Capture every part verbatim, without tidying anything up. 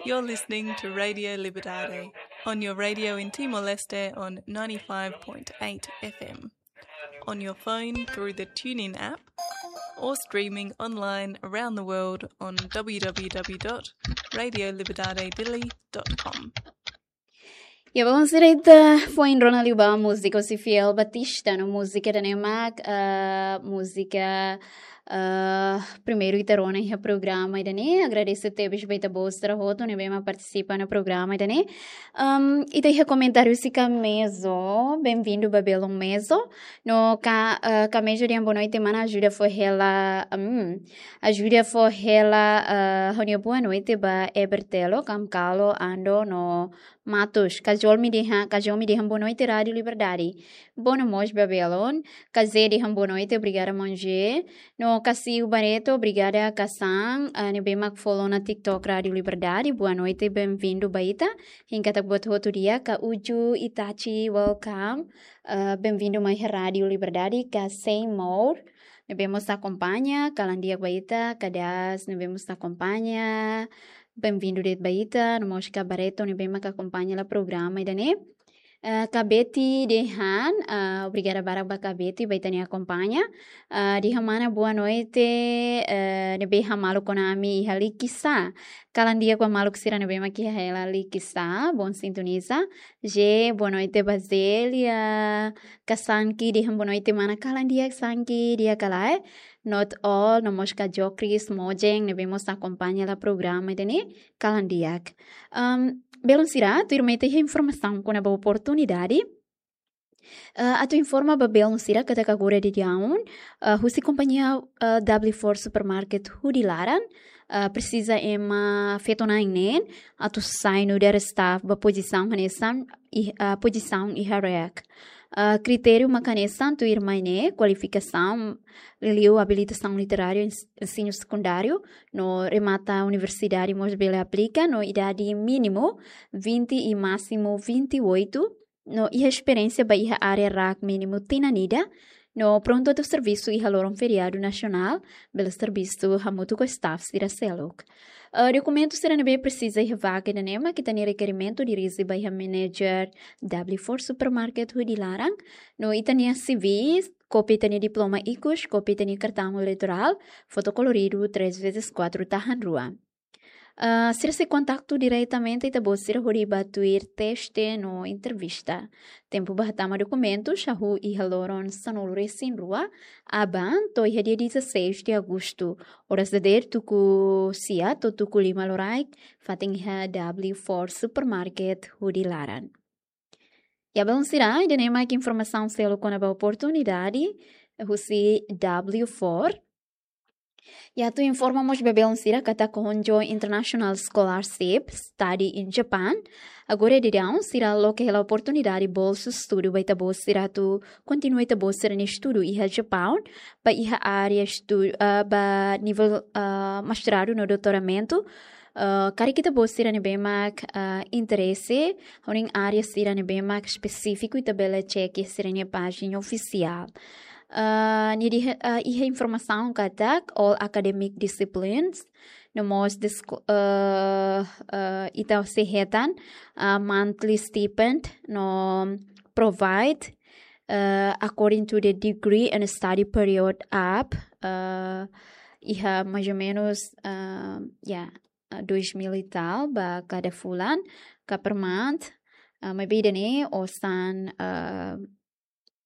You're listening to Radio Liberdade on your radio in Timor-Leste on ninety-five point eight F M, on your phone through the TuneIn app, or streaming online around the world on w w w dot radio liberdade dili dot com. Ya, bom, sira ita foin rona liu ba múzika husi Fiel Batista no múzika ida-ne'e mak, ah, múzika, ah, primeiru ita rona iha programa ida-ne'e. Agradese tebes ba ita-boot sira hotu ne'ebé mak partisipa iha programa ida-ne'e. Am, ita iha komentáriu husi Kamezo, benvindu ba belun Mezo. No ka, ah, Kamezo dehan boa noite mana, ajuda fó hela, am, ajuda fó hela, ah, ha'u-nia boa noite ba Ebertelo, Kamkalo, Ando no Matus, kajol mi dehan, kajol mi dehan boa noite Rádio Liberdade. Boa noite mós ba belun. Kazé dehan boa noite, obrigada maun Zé. No Kasiu Barreto, obrigada Kasan, ah, ne'ebé mak follow ona TikTok Rádio Liberdade. Boa noite, benvindu ba ita. Hein katak buat hotu di'ak, ka Uju Itachi, welcome. Ah, benvindu mai Rádio Liberdade, ka Seymour ne'ebé mós akompaña, kalan di'ak ba ita, ka Das ne'ebé mós akompaña. Benvindu de'it ba ita, no mós ka Barreto ne'ebé mak akompaña hela programa ida-ne'e. Eh, ka Betty dehan, eh, obrigada barak ba ka Betty, ba ita-nia akompaña. Eh, dehan mana boa noite, eh, ne'ebé hamaluk ona ami iha Likisá. Kalan di'ak ba maluk sira ne'ebé mak iha hela Likisá, bom sintoniza. Zé, boa noite ba Zélia. Ka Sanki dehan boa noite mana, kalan di'ak Sanki, di'ak ka lae? Not all, no mós ka Jokris Mojeng ne'ebé mós akompaña hela programa ida-ne'e, kalan di'ak. Am, belun sira, tuirmai ita iha informasaun kona-ba oportunidade. Eh, atu informa ba belun sira katak agora daudaun, eh, husi kompañia, eh, W four Supermarket hudi laran, eh, presiza ema feto-na'in neen atu sai nu'udar staff ba pozisaun hanesan, ih-, eh, pozisaun iha REAC. Eh, kritériu mak hanesan tuirmai ne'e, kualifikasaun, liuliu abilitasaun literária ens-, ensinu sekundáriu, no remata universidade mós bele aplika, no idade mínimu vinte e másimu vinte e oito, no iha esperiénsia ba iha área RAK mínimu tinan ida, no prontu atu servisu iha loron feriadu nasionál, bele servisu hamutuk ho staff sira seluk. Eh, dokumentu sira ne'ebé presiza iha vaga ida-ne'e mak ita-nia rekerimentu dirije ba iha manager W four Supermarket hudi laran, no ita-nia C V, kópia ita-nia diploma ikus, kópia ita-nia kartaun eleitorál, foto koloridu três vezes quatro tahan rua. Ah, sira sei kontaktu diretamente ita-boot sira hodi bá tuir teste no entrevista. Tempu ba hatama dokumentus hahú iha loron sanulu-resin-rua aban to'o iha dia dezasseis de agosto. Oras dadeer tuku sia to'o tuku lima loraik, fatin iha W four Supermarket hudi laran. Ya, belun sira, ida-ne'e mak informasaun seluk kona-ba oportunidade husi W four. Ya, atu informa mós ba belun sira katak Honjo International Scholarship Study in Japan. Agora daudaun sira loke hela oportunidade bolsu estudu ba ita-boot sira atu kontinua ita-boot sira-nia estudu iha Japaun, ba iha área estu-, ah, ba nivel, ah, mestradu no doutoramentu. Ah, karik ita-boot sira ne'ebé mak, ah, interese, ho nia área sira ne'ebé mak espesífiku, ita bele cek iha sira-nia pájina ofisiál. Ah, nia dehan, ah, iha informasaun katak all academic disciplines, no mós disko-, ah, ah, ita sei hetan, ah, monthly stipend, no provide, ah, according to the degree and study period up, ah, iha mais ou menos, ah, ya, ah, dois mil e tal ba kada fulan, ka per month, ah, maibé ida-ne'e osan, ah,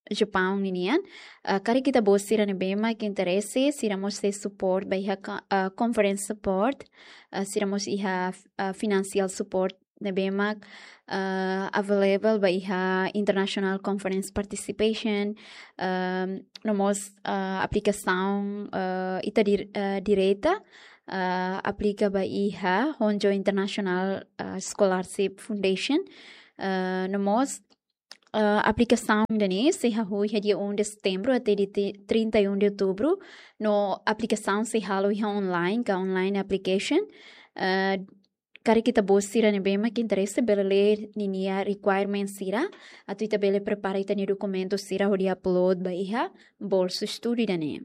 Japaun ninian. Ah, karik ita-boot sira ne'ebé mak interese, sira mós sei support ba iha ka-, ah, conference support, ah, sira mós iha, ah, financial support ne'ebé mak, ah, available ba iha international conference participation, ah, no mós, ah, aplikasaun, ah, ita dir-, ah, direta, ah, aplika ba iha Honjo International, ah, Scholarship Foundation, ah, no mós, ah, aplikasaun ida-ne'e sei hahú iha dia um de setembro até dia ti-, trinta e um de outubro, no aplikasaun sei halo iha online, ka online application. Ah, karik ita-boot sira ne'ebé mak interese bele lee ninia requirement sira, atu ita bele prepara ita-nia dokumentu sira hodi upload ba iha bolsu estudu ida-ne'e.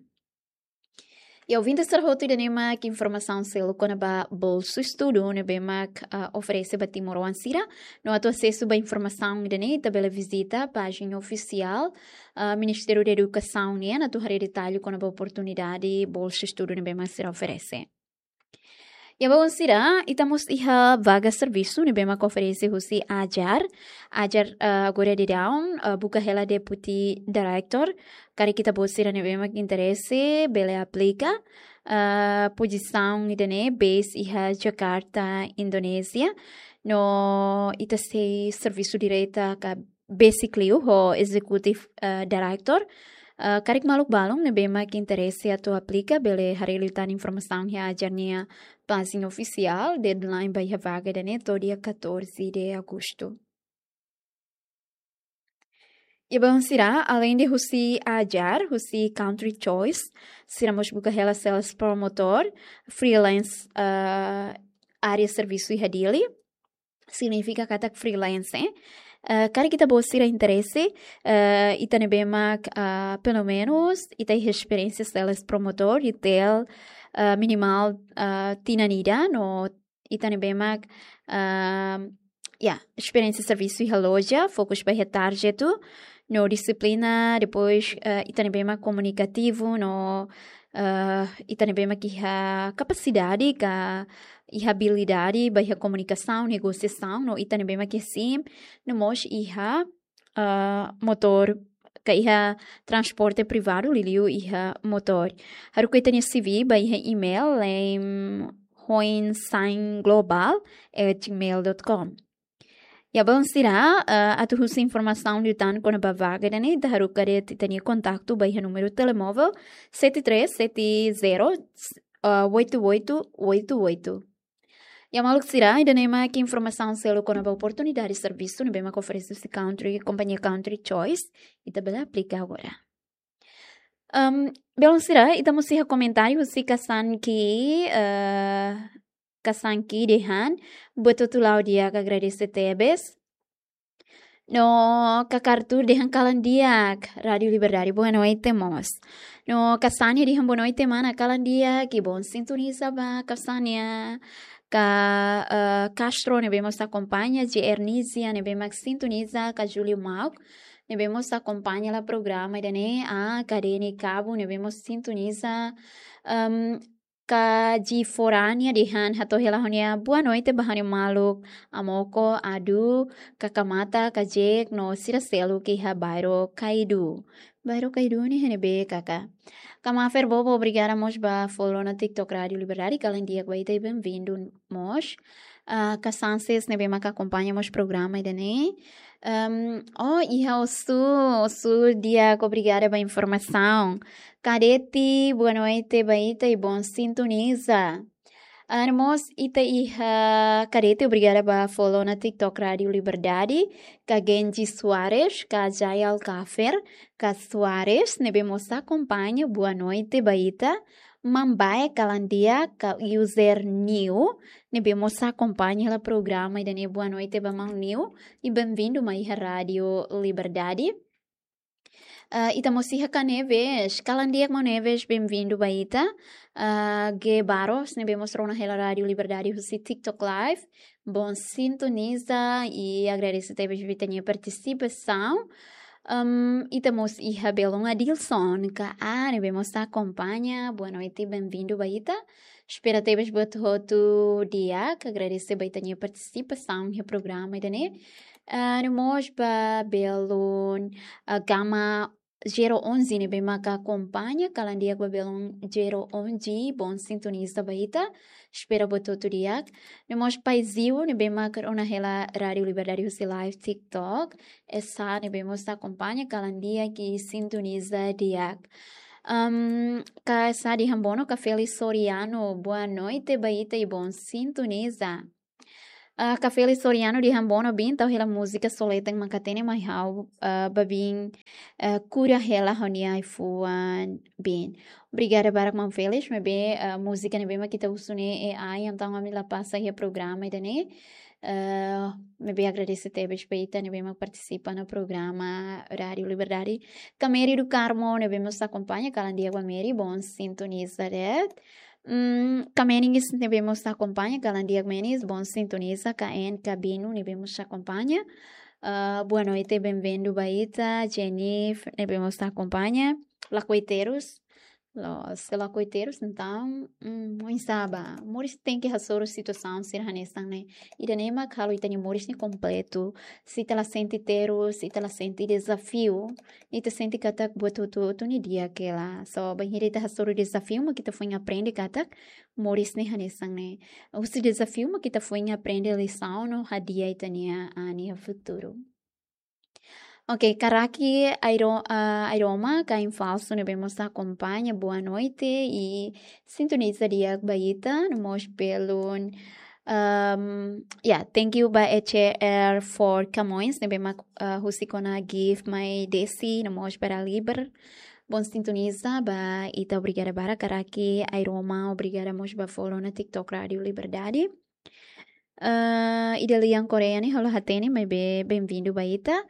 Ouvinte sira hotu, ida-ne'e mak informasaun seluk kona-ba bolsu estudu ne'ebé mak, ah, oferese ba timoroan sira. No atu asesu ba informasaun ida-ne'e, ita bele vizita pájina ofisiál, ah, Ministériu Edukasaun nian, atu haree detallu kona-ba oportunidade bolsu estudu ne'ebé mak sira oferese. Iha baun sira, ita mós iha vaga servisu ne'ebé mak oferese husi AJAR. AJAR, ah, agora daudaun, ah, buka hela deputy director. Karik ita-boot sira ne'ebé mak interese, bele aplika. Ah, pozisaun ida-ne'e base iha Jakarta, Indonézia. No ita sei servisu direta ka besik liu ho executive, ah, director. Ah, karik maluk balun ne'ebé mak interese atu aplika, bele haree liután informasaun iha AJAR nia pájina ofisiál. Deadline ba iha vaga ida-ne'e to'o dia catorze de agosto. Iha baun sira, além de husi AJAR, husi Country Choice, sira mós buka hela sales promotor, freelance, ah, área servisu iha Dili. Signifika katak freelance, eh? Ah, karik ita-boot sira interese, ah, ita ne'ebé mak, ah, pelumenus ita iha esperiénsia sales promotor, retail, ah, minimal, ah, tinan ida, no ita ne'ebé mak, ah, ya, esperiénsia servisu iha loja, fokus ba iha target, no dixiplina, depois, ah, ita ne'ebé mak komunikativu, no, ah, ita ne'ebé mak iha kapasidade ka iha abilidade ba iha komunikasaun, negosiasaun, no ita ne'ebé mak iha SIM, no mós iha, ah, motór, ka iha transporte privadu, liuliu iha motór. Haruka ita-nia C V ba iha email, em hoinsainglobal at gmail dot com. Iha baun sira, ah, atu husu informasaun liután kona-ba vaga ida-ne'e, ita haruka de'it ita-nia kontaktu ba iha númeru telemóvel sete três sete zero, ah, oito oito oito oito. Iha maluk sira, ida-ne'e mak informasaun seluk kona-ba oportunidade servisu ne'ebé mak oferese husi Country, kompañia Country Choice. Ita bele aplika agora. Em, belun sira, ita mós iha komentáriu husi Kasanki, eh, Kasanki dehan, buat hotu la'o di'ak, agradese tebes. No Kaka Arthur dehan kalan di'ak, Rádio Liberdade, boa noite mós. No Kasania dehan boa noite mana, kalan di'ak, i bom sintoniza ba Kasania. Ka, eh, Castro ne'ebé mós akompaña, J R Nizia ne'ebé mak sintoniza, ka Júlio Mauk ne'ebé mós akompaña hela programa ida-ne'e, ah, Kadeni Kabu ne'ebé mós sintoniza, em, ka Ji Forania dehan hato'o hela ha'u-nia boa noite ba ha'u-nia maluk Amoko, Adu, Kaka Mata, Ka Jek, no sira seluk iha bairru Kaidu. Bairru Kaidu ne'e iha ne'ebé, Kaka? Ka Mafer Bobo, obrigada mós ba follow ona TikTok Rádio Liberdade, kalan di'ak ba ita i bem-vindo mós. Ah, Ka Sanses ne'ebé mak akompaña mós programa ida-ne'e. Em, oh, iha Osu, Osu di'ak, obrigada ba informasaun. Kadeti, boa noite ba ita i bom sintoniza. Ah, no mós ita iha Kadeti, obrigada ba follow ona TikTok Rádio Liberdade, ka Genji Soares, ka Jai Alcafer, ka Soares, ne'ebé mós akompaña, boa noite ba ita. Mambae kalan di'ak, ka user Niu, ne'ebé mós akompaña hela programa ida-ne'e, boa noite ba maun Niu, i bem-vindo mai iha Rádio Liberdade. Ah, ita mós iha Ka Neves, kalan di'ak maun Neves, bem-vindo ba ita. Ah, G Barros, ne'ebé mós rona hela Rádio Liberdade husi TikTok Live. Bom sintoniza i agradese tebes ba ita-nia partisipasaun. Em, ita mós iha belun Adilson, ka A, ne'ebé mós akompaña. Boa noite, bem-vindo ba ita. Espera tebes buat hotu di'ak, agradese ba ita-nia partisipasaun iha programa ida-ne'e. Ah, no mós ba belun, ah, Gama zero onze ne'ebé mak akompaña, kalan di'ak ba belun zero onze, bom sintoniza ba ita. Espera buat hotu di'ak. No mós Pai Ziu ne'ebé mak rona hela Rádio Liberdade husi live TikTok. Esa ne'ebé mós akompaña, kalan di'ak i sintoniza di'ak. Em, Ka Esa dehan bono, Ka Feli Soriano, boa noite ba ita i bom sintoniza. Ah, Ka Felis Soriano dehan bono bin, tau hela múzika Soleten mak hatene mai ha'u, ah, ba bin, ah, kura hela ha'u-nia ai-fuan bin. Obrigada barak maun Felis, maibé, ah, múzika ne'ebé mak ita husu ne'e AI, entaun ami la pasa iha programa ida-ne'e. Ah, maibé agradese tebes ba ita ne'ebé mak partisipa iha programa Rádio Liberdade. Ka Mary do Carmo ne'ebé mós akompaña, kalan di'ak ba Mary, bon sintoniza de'it. Mm, Ka Menis ne'ebé mós akompaña, kalan di'ak Menis, bon sintoniza. Ka En Kabinu ne'ebé mós akompaña. Ah, boa noite, bem-vindo ba ita. Jenif ne'ebé mós akompaña. Lakoiteiros. Los lakoiteiros, entaun, mm, oinsá ba. Moris tenke hasoru situasaun sira hanesan ne'e. Ida-ne'e mak halo ita-nia moris ne'e kompletu. Se ita la sente terus, se ita la sente dezafiu, ita sente katak buat hotu-hotu ne'e di'ak hela. So, bainhira ita hasoru dezafiu mak ita foin aprende katak moris ne'e hanesan ne'e. Husi dezafiu mak ita foin aprende lisaun no hadi'a ita-nia, ah, nia futuru. Ok, Ka Raki Airo-, ah, Airoma, kain falsu ne'ebé mós akompaña, boa noite i sintoniza di'ak ba ita, no mós belun, um, yeah, thank you ba E C R for Camões, ne'ebé mak, ah, husik ona gift mai Desi, no mós para Liber. Bon sintoniza ba ita, obrigada barak, Ka Raki Airoma, obrigada mós ba follow ona TikTok Rádio Liberdade. Ah, Idalian Korea ne'e ha'u la hatene, maibé bem-vindo ba ita.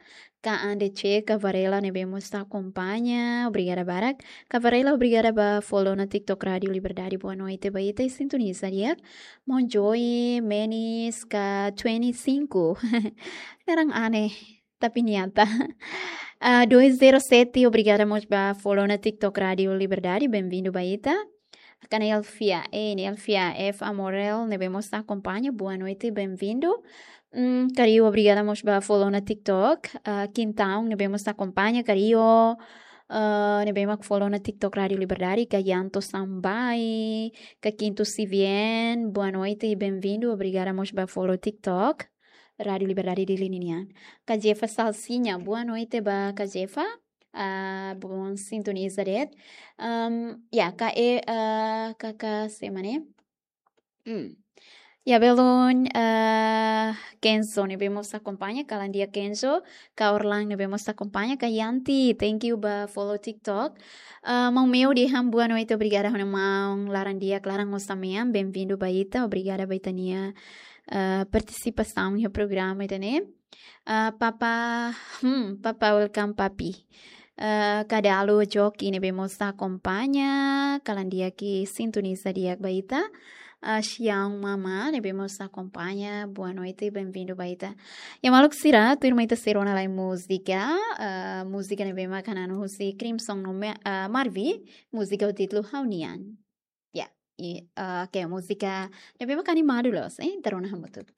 Ka Ande Che, Ka Varela ne'ebé mós akompaña, obrigada barak. Ka Varela, obrigada ba follow ona TikTok Rádio Liberdade, boa noite ba ita i sintoniza di'ak. Mon Joy, Menis, Ka twenty-cinco. Naran aneh, tapi nyata. Ah, dois zero sete, obrigada mós ba follow ona TikTok Rádio Liberdade, bem-vindo ba ita. Ka Nelfia, eh, Nelfia F Amorel, ne'ebé mós akompaña, boa noite, bem-vindo. Mm, Ka Rio, obrigada mós ba follow ona TikTok. Ah, Quintão, ne'ebé mós akompaña, Ka Rio, ah, ne'ebé mak follow ona TikTok Rádio Liberdade, Ka Yanto Sambai, Ka Quinto Sivien, boa noite e bem-vindo, obrigada mós ba follow TikTok Rádio Liberdade Dili nian. Ka Jefa Salsinha, boa noite ba Ka Jefa. Ah, bon sintoniza de'it. Um, ya, Ka E, ah, Ka, Ka sé mak ne'e? Hmm. Ya, belun, ah, Kenzo ne'ebé mós akompaña, kalan di'ak Kenzo, Ka Orlan ne'ebé mós akompaña, Ka Yanti, thank you ba follow TikTok. Ah, maun Meu dehan boa noite, obrigada ha'u-nia maun, laran di'ak, laran osan-mean, bem-vindo ba ita, obrigada ba ita-nia, ah, partisipasaun iha programa ida-ne'e. Ah, Papa, hmm, Papa, welcome, Papi. Ah, Ka Dalo Joki ne'ebé mós akompaña, kalan di'ak i sintoniza di'ak ba ita. Ah, Xiang Mama ne'ebé mós akompaña, boa noite, bem-vindo ba ita. Ya maluk sira, tuirmai ita sei rona lai múzika, ah, múzika ne'ebé mak hananu husi Crimson no Me-, ah, Marvi, múzika ho títulu Ha'u Nian. Ya, i, ah, ke múzika ne'ebé mak animadu loos, eh, ita rona hamutuk.